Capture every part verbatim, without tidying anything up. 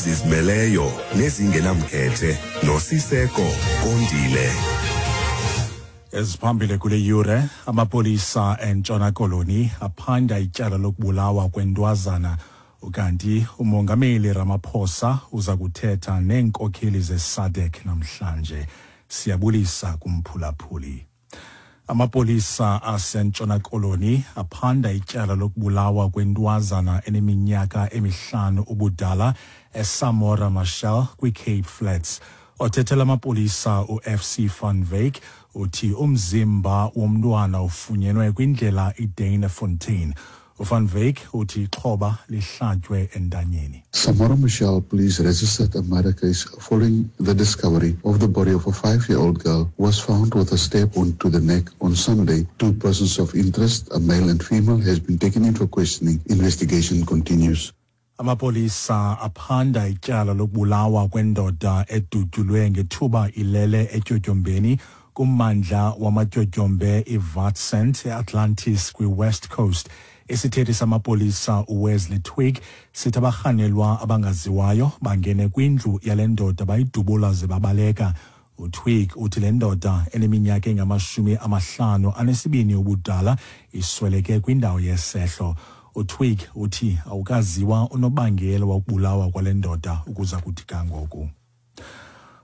Ezizimeleyo nezingenamkhethe noSiseko Kondile. Eziphambili kule yure, amapolisa eNtshona Koloni aphanda ityala lokubulawa kwentwazana, ukanti uMongameli Ramaphosa uza kuthetha neenkokheli zeSADC namhlanje. Siyabulisa kumphulaphuli. Amapolisa aseNtshona Koloni aphanda ityala lokubulawa kwentwazana eneminyaka emihlanu ubudala eSamora Machel kwiCape Flats. Othethela amapolisa u-F C van Wyk uthi umzimba womntwana ufunyenwe kwindlela iDuynefontein. UVan Wyk uthi ixhoba lihlatywe entanyeni. Samora Machel Police registered a murder case following the discovery of the body of a five-year-old girl who was found with a stab wound to the neck on Sunday. Two persons of interest, a male and female, has been taken in for questioning. Investigation continues. Amapolisa aphanda ityala lokubulawa kwendoda edutyulwe ngethuba ilele etyotyombeni kummandla wamatyotyombe iWitsand eAtlantis kwiWest Coast. Isithethi samapolisa uWesley Twigg sithi abarhanelwa abangaziwayo bangene kwindlu yale ndoda, bayidubula ze babaleka. UTwigg uthi le ndoda eneminyaka engamashumi amahlanu anesibini ubudala isweleke kwindawo yesehlo. UTwigg uthi awukaziwa unobangela wokubulawa kwale ndoda ukuza kuthi kangoku.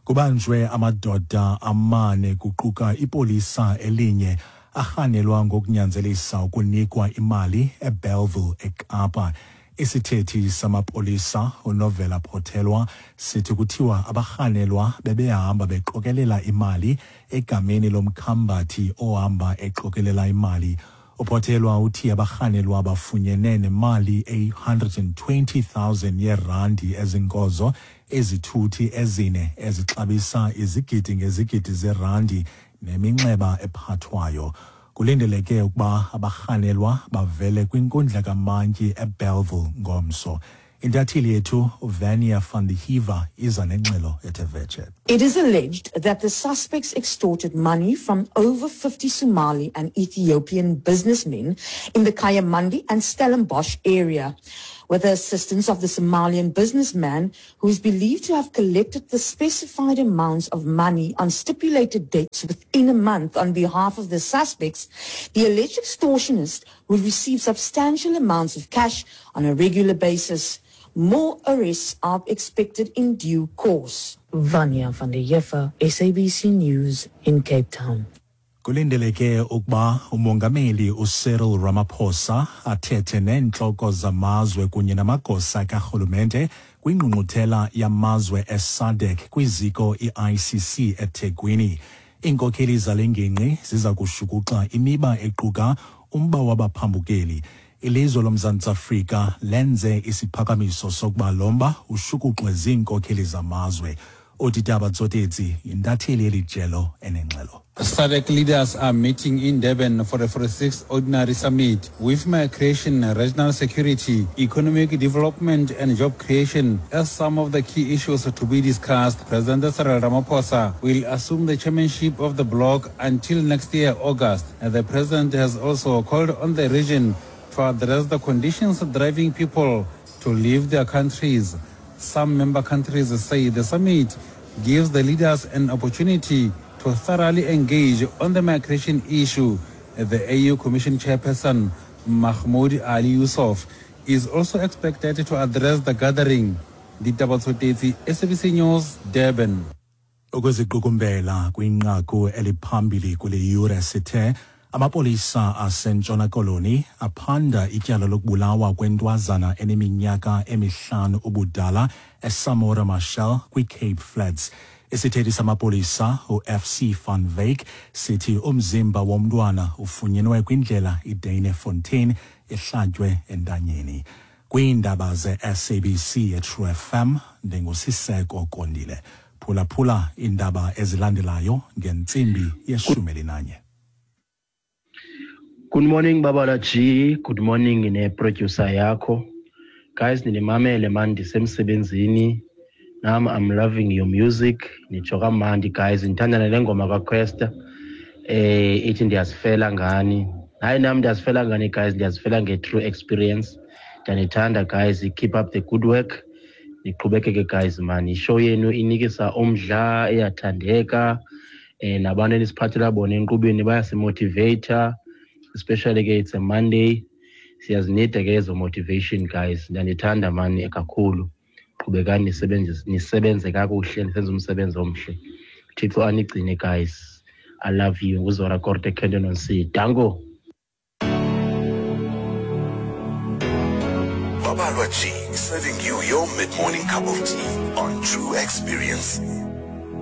Kubanjwe amadoda amane, kuquka ipolisa elinye, arhanelwa ngokunyanzelisa ukunikwa imali eBellville eKapa. Isithethi samapolisa uNovela Potelwa sithi kuthiwa abarhanelwa bebehamba beqokelela imali egameni lomkhambathi ohamba eqokelela imali. UPotelwa uthi abarhanelwa bafunyene nemali eyi-one hundred and twenty thousand yeerandi ezinkozo, ezithuthi ezine ezixabisa izigidi ngezigidi zerandi neminxeba ephathwayo. Kulindeleke ukuba abarhanelwa bavele kwinkundla kamantyi eBellville ngomso. Intatheli yethu uVania van der Heever iza nengxelo ethe vetshe. It is alleged that the suspects extorted money from over fifty Somali and Ethiopian businessmen in the Kayamandi and Stellenbosch area, with the assistance of the Somalian businessman who is believed to have collected the specified amounts of money on stipulated dates within a month on behalf of the suspects. The alleged extortionist would receive substantial amounts of cash on a regular basis. More arrests are expected in due course. Vanya van der Heever, S A B C News in Cape Town. Kulindeleke ukuba uMongameli uCyril Ramaphosa athethe neentloko zamazwe kunye namagosa karhulumente kwingqungquthela yamazwe eSADC kwiziko i-I C C eThekwini. Iinkokheli zale ngingqi ziza kushukuxa imiba equka umba wabaphambukeli. Ilizwe loMzantsi Afrika lenze isiphakamiso sokuba lo mba ushukuxwe ziinkokheli zamazwe. UDitaba Tsotetsi yintatheli yeli jelo enengxelo. SADC leaders are meeting in Durban for the forty-sixth Ordinary Summit, with migration, regional security, economic development and job creation as some of the key issues to be discussed. President Cyril Ramaphosa will assume the chairmanship of the bloc until next year, August. And the president has also called on the region to address the conditions driving people to leave their countries. Some member countries say the summit gives the leaders an opportunity to thoroughly engage on the migration issue. The A U Commission chairperson, Mahmoud Ali Youssouf, is also expected to address the gathering. Ditaba Tsotetsi, S A B C News, Durban. Ukuziqukumbela kwinqaku eliphambili kule yure sithe amapolisa aseNtshona Koloni aphanda ityala lokubulawa kwentwazana eneminyaka emihlanu ubudala eSamora Machel kwiCape Flats. Isithethi samapolisa u-F C van Wyk sithi umzimba womntwana ufunyenwe kwindlela iDuynefontein ehlatywe entanyeni. Kwiindaba ze-S A B C eTrue F M, ndinguSiseko Kondile. Phulaphula iindaba ezilandelayo ngentsimbi yeshumi elinanye. Good morning, Babala G. Good morning ne-producer yakho. Guys, ninimamele man ndisemsebenzini. Nam I'm loving your music. Nitsho kamandi, guys. Ndithanda nale ngoma kaQuesta. Eh ithi "Ndiyazifela ngani". Hayi, nam ndiyazifela ngani, guys, ndiyazifela nge-true experience. Ndiyanithanda, guys. Keep up the good work. Niqhubekeke guys man, ishow yenu inikisa umdla, iyathandeka, eh nabantu enisiphathela bona enkqubeni bayasimotivate, especially ke it's a Monday. Siyazinida ke ezo motivation guys. Ndiyanithanda mani kakhulu. Qhubekani nisebenze nisebenze kakuhle, nisenze umsebenzi omhle. Thixo anigcine guys. I love you. NguZora Korte Kenton on C. Danko. Babalwa G, serving you your mid-morning cup of tea on True Experience.